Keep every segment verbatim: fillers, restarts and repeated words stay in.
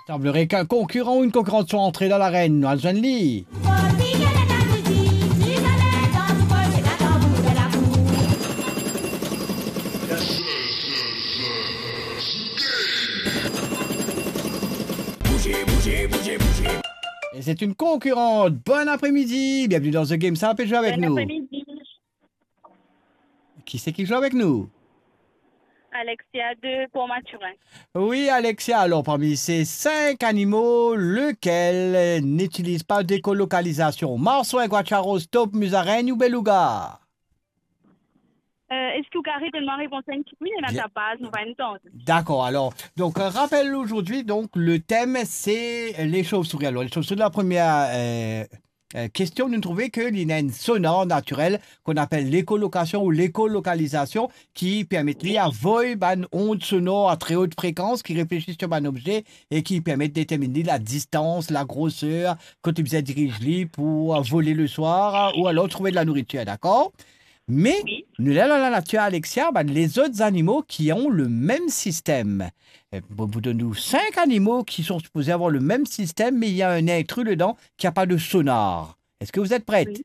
Semblerait qu'un concurrent ou une concurrente soit entré dans l'arène. Nou al zwenn li. Et c'est une concurrente. Bon après-midi. Bienvenue dans The Game. Sa pe zwe avek nou. Bon après-midi. Qui c'est qui joue avec nous? Alexia de Port-Mathurin. Oui, Alexia, alors parmi ces cinq animaux, lequel, euh, n'utilise pas d'écolocalisation? Marsouin, guacharos, top, musaraigne ou beluga? Euh, est-ce que vous pouvez donner ma réponse un petit peu? Il y en a Bien. Ta base, on va entendre. D'accord, alors, donc, euh, rappel aujourd'hui, donc, le thème, c'est les chauves-souris. Alors, les chauves-souris, la première, euh, euh, question, nou trouve ke li ena enn sonar natirel qu'on appelle l'écholocation ou l'écolocalisation, ki permet li avoy bann ondes sonores à très haute fréquence ki refleti sur bann obze e ki permet determinn li la distance, la grosseur, kot li bizin diriz li pour, euh, voler le soir, euh, ou alors trouver de la nourriture, d'accord? Mais, Oui. Nou la dan lanatir, Alexia, bann lezot zanimo ki ont le mem sistem. Euh, bon, vous donne cinq animaux qui sont supposés avoir le même système, mais il y a un intrus dedans qui a pas de sonar. Est-ce que vous êtes prête? Oui.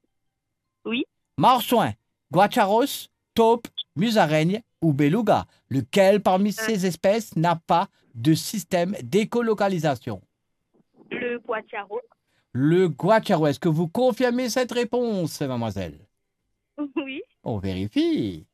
Oui. Marsouin, guacharos, top, musaraigne ou beluga. Lequel parmi Euh. ces espèces n'a pas de système d'écolocalisation? Le guacharo. Le guacharo. Est-ce que vous confirmez cette réponse, mademoiselle? Oui. On vérifie.